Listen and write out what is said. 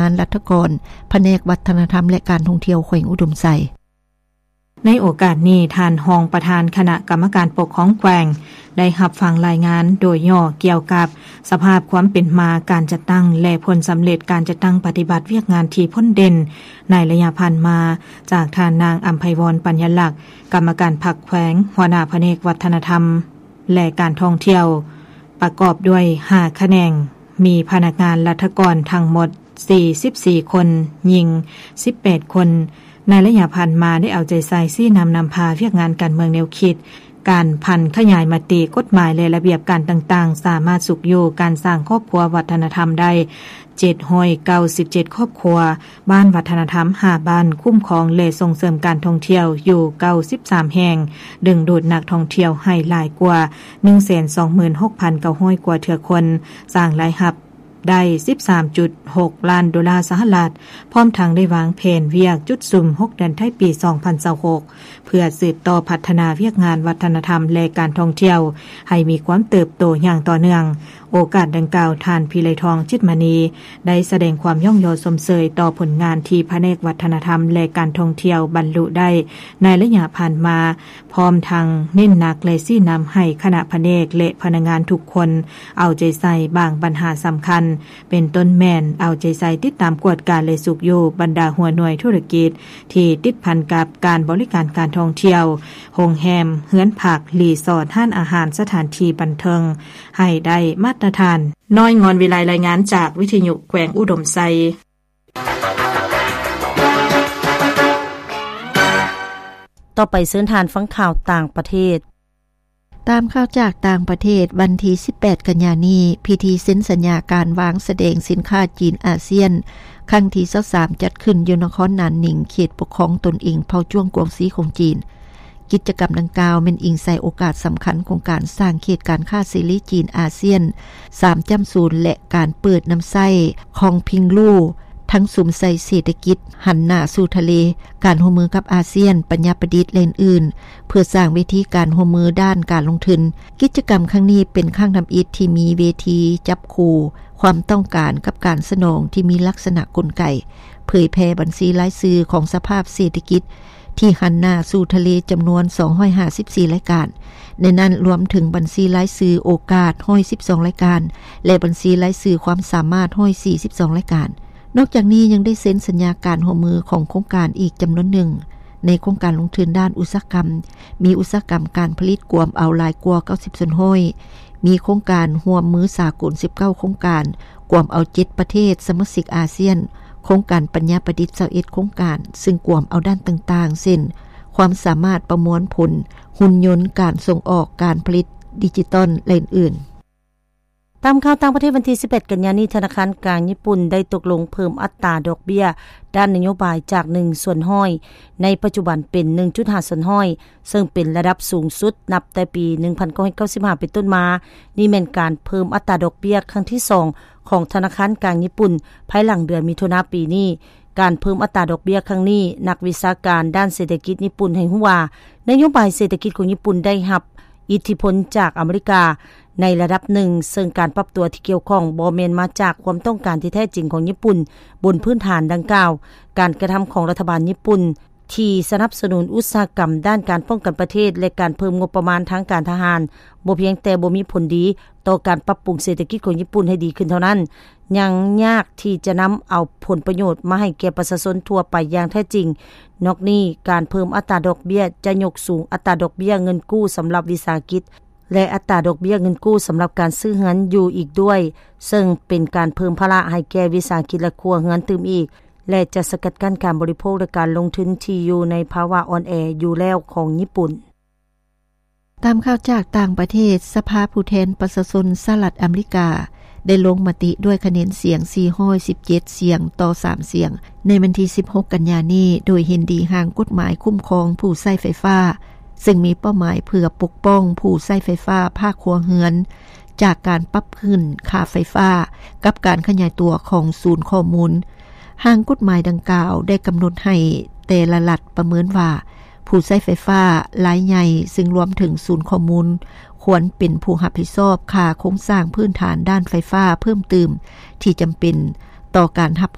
ນລັດຖະກອນ ພະແນກວັດທະນະທຳ ແລະ ການທ່ອງທ່ຽວແຂວງອຸດົມໄຊ. ໃນໂອກາດນີ້, ທ່ານຮອງປະທານຄະນະກຳມະການປົກຄອງແຂວງ ໄດ້ຮັບຟັງລາຍງານໂດຍຫຍໍ້ກ່ຽວກັບສະພາບຄວາມເປັນມາການຈັດຕັ້ງ ແລະ ຜົນສຳເລັດການຈັດຕັ້ງປະຕິບັດວຽກງານທີ່ພົ້ນເດັ່ນໃນໄລຍະຜ່ານມາ ຈາກທ່ານນາງ ອຳໄພວອນ ປັນຍາລັກ ກຳມະການພັກແຂວງ, ຫົວໜ້າພະແນກວັດທະນະທຳ ແລະ ການທ່ອງທ່ຽວ, ປະກອບດ້ວຍຫ້າຂະແໜງ, ມີພະນັກງານລັດຖະກອນທັງໝົດສີ່ສິບສີ່ຄົນ, ຍິງສິບແປດຄົນ. ໃນໄລຍະຜ່ານມາໄດ້ເອົາໃຈໃສ່ຊີ້ນຳນຳພາວຽກງານການເມືອງແນວຄິດ, ການຜັນຂະຫຍາຍມະຕິ, ກົດໝາຍ ແລະ ລະບຽບການຕ່າງໆ ສາມາດຊຸກຍູ້ການສ້າງຄອບຄົວວັດທະນະທຳໄດ້ ເຈັດຮ້ອຍເກົ້າສິບເຈັດຄອບຄົວ, ບ້ານວັດທະນະທຳຫ້າບ້ານ, ຄຸ້ມຄອງ ແລະ ສົ່ງເສີມການທ່ອງທ່ຽວຢູ່ເກົ້າສິບສາມແຫ່ງ, ດຶງດູດນັກທ່ອງທ່ຽວໃຫ້ຫຼາຍກວ່າໜຶ່ງແສນສອງໝື່ນຫົກພັນເກົ້າຮ້ອຍກວ່າເທື່ອຄົນ, ສ້າງລາຍຮັບໄດ້ສິບສາມຈຸດຫົກລ້ານໂດລາສະຫະລັດ, ພ້ອມທັງໄດ້ວາງແຜນວຽກຈຸດສຸມຫົກເດືອນທ້າຍປີສອງພັນຊາວຫົກ ເພື່ອສືບຕໍ່ພັດທະນາວຽກງານວັດທະນະທຳ ແລະ ການທ່ອງທ່ຽວໃຫ້ມີຄວາມເຕີບໂຕຢ່າງຕໍ່ເນື່ອງ. ໂອກາດດັ່ງກ່າວ, ທ່ານ ພິໄລທອງ ຈິດມະນີ ໄດ້ສະແດງຄວາມຍ້ອງຍໍຊົມເຊີຍຕໍ່ຜົນງານທີ່ພະແນກວັດທະນະທຳ ແລະ ການທ່ອງທ່ຽວບັນລຸໄດ້ໃນໄລຍະຜ່ານມາ, ພ້ອມທັງເນັ້ນໜັກ ແລະ ຊີ້ນຳໃຫ້ຄະນະພະແນກ ແລະ ພະນັກງານທຸກຄົນເອົາໃຈໃສ່ບາງບັນຫາສຳຄັນ, ເປັນຕົ້ນແມ່ນເອົາໃຈໃສ່ຕິດຕາມກວດກາ ແລະ ຊຸກຍູ້ບັນດາຫົວໜ່ວຍທຸລະກິດ ທີ່ຕິດພັນກັບການບໍລິການການທ່ອງທ່ຽວ, ໂຮງແຮມ, ເຮືອນພັກ, ຣີສອດ, ຮ້ານອາຫານ, ສະຖານທີ່ບັນເທີງ ໃຫ້ໄດ້ມາດຕະຖານ. ນ້ອຍ ງອນວິໄລ ລາຍງານຈາກວິທະຍຸແຂວງອຸດົມໄຊ. ຕໍ່ໄປເຊີນທ່ານຟັງຂ່າວຕ່າງປະເທດ. ຕາມຂ່າວຈາກຕ່າງປະເທດ, ວັນທີສິບແປດກັນຍານີ້, ພິທີເຊັນສັນຍາການວາງສະແດງສິນຄ້າຈີນອາຊຽນ ຄັ້ງທີຊາວສາມ ຈັດຂຶ້ນຢູ່ນະຄອນນານໜິງ, ເຂດປົກຄອງຕົນເອງເຜົ່າຈວງກວາງຊີຂອງຈີນ. ກິດຈະກຳດັ່ງກ່າວແມ່ນອີງໃສ່ໂອກາດສຳຄັນຂອງການສ້າງເຂດການຄ້າເສລີຈີນອາຊຽນ ສາມຈຸດສູນ ແລະ ການເປີດນຳໃຊ້ຂອງພິງລູ ທັງສຸມໃສ່ເສດຖະກິດຫັນໜ້າສູ່ທະເລ, ການຮ່ວມມືກັບອາຊຽນ, ປັນຍາປະດິດ ແລະ ອື່ນໆ ເພື່ອສ້າງເວທີການຮ່ວມມືດ້ານການລົງທຶນ. ກິດຈະກຳຄັ້ງນີ້ເປັນຄັ້ງທຳອິດທີ່ມີເວທີຈັບຄູ່ຄວາມຕ້ອງການກັບການສະໜອງທີ່ມີລັກສະນະກົນໄກ ເຜີຍແຜ່ບັນຊີລາຍຊື່ຂອງສະພາບເສດຖະກິດ ທີ່ຫັນໜ້າສູ່ທະເລຈຳນວນສອງຮ້ອຍຫ້າສິບສີ່ລາຍການ, ໃນນັ້ນລວມເຖິງບັນຊີລາຍຊື່ໂອກາດຮ້ອຍສິບສອງລາຍການ ແລະ ບັນຊີລາຍຊື່ຄວາມສາມາດຮ້ອຍສີ່ສິບສອງລາຍການ. ນອກຈາກນີ້ຍັງໄດ້ເຊັນສັນຍາການຮ່ວມມືຂອງໂຄງການອີກຈຳນວນໜຶ່ງ. ໃນໂຄງການລົງທຶນດ້ານອຸດສາຫະກຳ ມີອຸດສາຫະກຳການຜະລິດກວມເອົາຫຼາຍກວ່າເກົ້າສິບສ່ວນຮ້ອຍ, ມີໂຄງການຮ່ວມມືສາກົນສິບເກົ້າໂຄງການ ກວມເອົາເຈັດປະເທດສະມາຊິກອາຊຽນ, ໂຄງການປັນຍາປະດິດຊາວເອັດໂຄງການ, ຊຶ່ງກວມເອົາດ້ານຕ່າງໆ ເຊັ່ນ ຄວາມສາມາດປະມວນຜົນ, ຫຸ່ນຍົນ, ການສົ່ງອອກ, ການຜະລິດດິຈິຕອນ ແລະ ອື່ນໆ. ຕາມຂ່າວຕ່າງປະເທດ, ວັນທີສິບແປດກັນຍານີ້, ທະນາຄານກາງຍີ່ປຸ່ນໄດ້ຕົກລົງເພີ່ມອັດຕາດອກເບ້ຍດ້ານນະໂຍບາຍຈາກໜຶ່ງສ່ວນຮ້ອຍ ໃນປັດຈຸບັນເປັນໜຶ່ງຈຸດຫ້າສ່ວນຮ້ອຍ ເຊິ່ງເປັນລະດັບສູງສຸດນັບແຕ່ປີໜຶ່ງພັນເກົ້າຮ້ອຍເກົ້າສິບຫ້າເປັນຕົ້ນມາ. ນີ້ແມ່ນການເພີ່ມອັດຕາດອກເບ້ຍຄັ້ງທີສອງຂອງທະນາຄານກາງຍີ່ປຸ່ນ ພາຍຫຼັງເດືອນມິຖຸນາປີນີ້. ການເພີ່ມອັດຕາດອກເບ້ຍຄັ້ງນີ້, ນັກວິຊາການດ້ານເສດຖະກິດຍີ່ປຸ່ນໃຫ້ຮູ້ວ່າ, ນະໂຍບາຍເສດຖະກິດຂອງຍີ່ປຸ່ນໄດ້ຮັບອິດທິພົນຈາກອາເມລິກາໃນລະດັບໜຶ່ງ, ເຊິ່ງການປັບຕົວທີ່ກ່ຽວຂ້ອງບໍ່ແມ່ນມາຈາກຄວາມຕ້ອງການທີ່ແທ້ຈິງຂອງຍີ່ປຸ່ນ. ບົນພື້ນຖານດັ່ງກ່າວ, ການກະທຳຂອງລັດຖະບານຍີ່ປຸ່ນ ທີ່ສະໜັບສະໜູນອຸດສາຫະກຳດ້ານການປ້ອງກັນປະເທດ ແລະ ການເພີ່ມງົບປະມານທາງການທະຫານ ບໍ່ພຽງແຕ່ບໍ່ມີຜົນດີຕໍ່ການປັບປຸງເສດຖະກິດຂອງຍີ່ປຸ່ນໃຫ້ດີຂຶ້ນເທົ່ານັ້ນ, ຍັງຍາກທີ່ຈະນຳເອົາຜົນປະໂຫຍດມາໃຫ້ແກ່ປະຊາຊົນທົ່ວໄປຢ່າງແທ້ຈິງ. ນອກນີ້, ການເພີ່ມອັດຕາດອກເບ້ຍຈະຍົກສູງອັດຕາດອກເບ້ຍເງິນກູ້ສຳລັບວິສາຫະກິດ ແລະ ອັດຕາດອກເບ້ຍເງິນກູ້ສຳລັບການຊື້ເຮືອນຢູ່ອີກດ້ວຍ, ເຊິ່ງເປັນການເພີ່ມພາລະໃຫ້ແກ່ວິສາຫະກິດ ແລະ ຄົວເຮືອນຕື່ມອີກ. ແລະ ຈະສະກັດກັ້ນການບໍລິໂພກ ແລະ ການລົງທຶນທີ່ຢູ່ໃນພາວະອ່ອນແອຢູ່ແລ້ວຂອງຍີ່ປຸ່ນ. ຕາມຂ່າວຈາກຕ່າງປະເທດ, ສະພາຜູ້ແທນປະຊາຊົນສະຫະລັດອາເມລິກາ ໄດ້ລົງມະຕິດ້ວຍຄະແນນສຽງສີ່ຮ້ອຍສິບເຈັດສຽງຕໍ່ສາມສຽງ ໃນວັນທີສິບຫົກກັນຍານີ້ ໂດຍເຫັນດີຮ່າງກົດໝາຍຄຸ້ມຄອງຜູ້ໃຊ້ໄຟຟ້າ, ເຊິ່ງມີເປົ້າໝາຍເພື່ອປົກປ້ອງຜູ້ໃຊ້ໄຟຟ້າພາກຄົວເຮືອນ ຈາກການປັບຂຶ້ນຄ່າໄຟຟ້າ ກັບການຂະຫຍາຍຕົວຂອງສູນຂໍ້ມູນ. ຮ່າງກົດໝາຍດັ່ງກ່າວໄດ້ກຳນົດໃຫ້ແຕ່ລະລັດປະເມີນວ່າ ຜູ້ໃຊ້ໄຟຟ້າລາຍໃຫຍ່, ເຊິ່ງລວມເຖິງສູນຂໍ້ມູນ, ຄວນເປັນຜູ້ຮັບຜິດຊອບຄ່າໂຄງສ້າງພື້ນຖານດ້ານໄຟຟ້າເພີ່ມຕື່ມທີ່ຈຳເປັນຕໍ່ການຮັບຮ